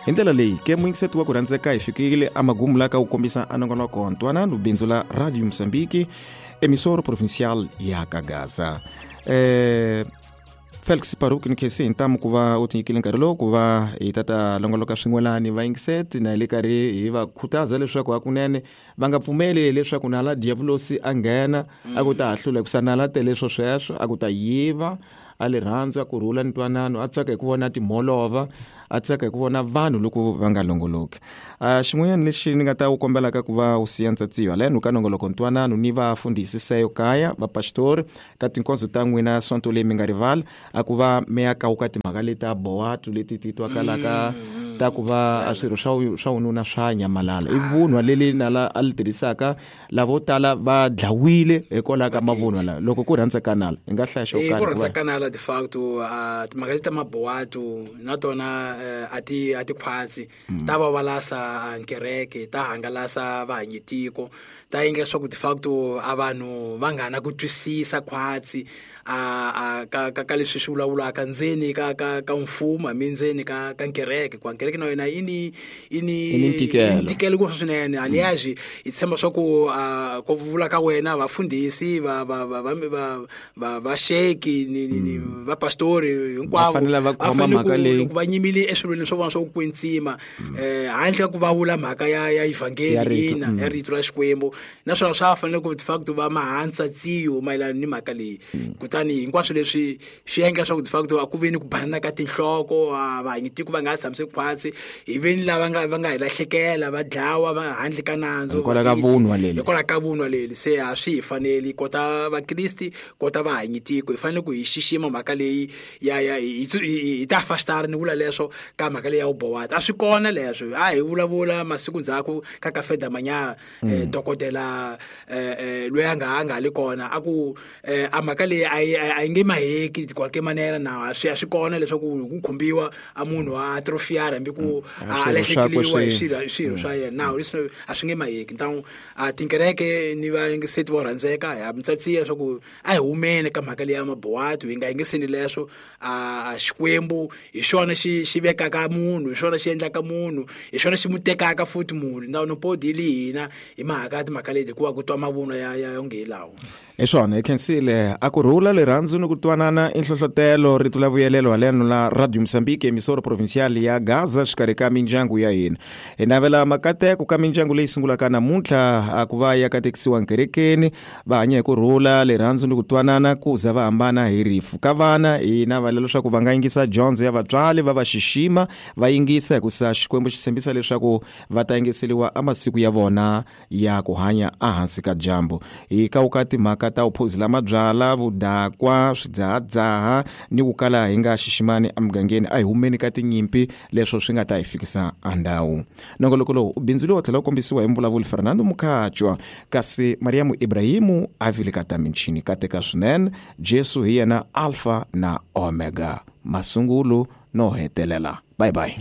Hi ndlela leyi ke muyingiseti wa ku rhandzeka, hi fikile amagumu la ka ku kombisa anongonoko Ntwanano, bindzu la Radio Mosambiki, emissora provincial ya Kagaza. Felix Paruki, ni khensi hi ntamu ku va u tinyikile nkarhi lowu ku va hi ta ta longoloka swin'welani vayingiseti, na hi le karhi hi va khutaza leswaku hakunene va nga pfumeli leswaku nala diyavulosi a nghena a ku ta hahlula, hikusa nala tele swo sweswo, a ku ta yiva. A le rhandza ku rhula ni ntwanano, a tsaka hi ku vona timholova, a tsaka hi ku vona vanhu loko va nga longoloki. Xin'wanyana lexi ni nga ta wu kombelaka ku va u siya ntsatsiyo haleno ka nongoloko Ntwanano ni vafundhisi seyo kaya vapastori ka tinkonzo ta n'wina sonto leyi, mi nga rivali a ku va mi ya kawuka timhaka leti ta bowato leti ti twakalaka ta ku va a swirho swa wununa swa nyamalala. I vunwa leli nala a li tirhisaka, lavo tala va dlawile hikwalaho ka mavunwa lawa. Loko ku rhandza ka nala, hi nga hlaya xo karhi? Ku rhandza ka nala, de facto timhaka leti ta mabowato na tona a ti khwatsi, ta vavalasa nkereke, ta hangalasa vahanyitiko, ta endla leswaku de facto a vanhu va nga na ku twisisa khwatsi a ka leswi swi vulavulaka ndzeni ka mfumo, hambi ndzeni ka nkereke, ku nkereke na yona yi ni ntikelo. Ntikelo ngopfu swinene. Aliás, hi tshemba swa ku ku vula ka wena vafundhisi va vaxeki ni vapastori hinkwavo Va fanele va khoma mhaka leyi. Loko va nyimile eswilweni swa vona swa ku kwetsima, handle ka ku va vula mhaka ya evhangeli Ya rito, ina, ya rito ra Xikwembu, naswona swa fanele ku de facto va mahansa tsiyo mayelana ni mhaka leyi. Kutani hinkwaswo leswi swi endla leswaku de facto a ku ve ni ku banana ka tinhloko, a vahanyitiko va nga ha tshamise khwatsi, hi ve ni lava nga hi lahlekela, va dlawa va handle ka nandzu. Hikwalaho ka vunwa leli. Hikwalaho ka vunwa leli. Se a swi hi faneli, kota vakristi, kota vahanyitiko, hi fanele ku hi xixima mhaka leyi ya hi ta fastara. Ni vula leswo ka mhaka leyi ya vubowati, a swi kona leswo a hi vulavula masiku ndzhaku ka Café da Manhã. Dokodela loyi a nga li kona a ku a mhaka leyi a yi nge maheki de qualquer maniera, na a swi kona leswaku ku khumbiwa a munhu a atrofiara, hambi ku a a swirho swakwe lahlekeliwa hi swirho swa yena. Nawu leswi a swi nge maheki. Ntawu a tinkereke ni vayingiseti vo rhandzeka, ha mi tsatsiya leswaku a hi humeni ka mhaka leyi ya mabuwati, hi nga yingiseni leswo. A Xikwembu hi xona xi vekaka munhu, hi xona xi endlaka munhu, hi xona xi mu tekaka futhi munhu. No podi li hina hi mhaka timhaka leti, hikuva ku twa mavunwa ya onge hi lawa. Hi swona, hi khensile. A ku rhula, rirhandzu ni ku twanana i nhlohlotelo, rito la vuyelelo haleno la Radio Mosambiki, emissora provincial ya Gaza, xikarhi ka mindyangu ya hina. Hi navela makateko ka mindyangu leyi sungulaka namuntlha, a ku va ya katekisiwa nkerekeni, va hanya hi ku rhula, rirhandzu ni ku twanana, ku za va hambana hi rifu. Ka vana hi navela leswaku va nga yingisa dyondzo ya vatswari, va va xixima, va yingisa, hikusa Xikwembu xi tshembisa leswaku va ta yingiseliwa amasiku ya vona ya ku hanya ehansi ka dyambu. Hi kawuka timhaka ta vuphuzi la mabyala, vudakwa, swidzahadzaha ni ku kala hi nga xiximani emugangeni, a hi humeni ka tinyimpi, leswo swi nga ta hi fikisa andhawu. Nongoloko lowu u bindzuriwa tlhela wu kombisiwa hi mvulavuli Fernando Mukhacwa, kasi Mariamu Ibrahimu a vile ka ta michini. Kateka swinene. Jesu hi yena Alpha na Omega, masungulo no hetelela. Bye bye.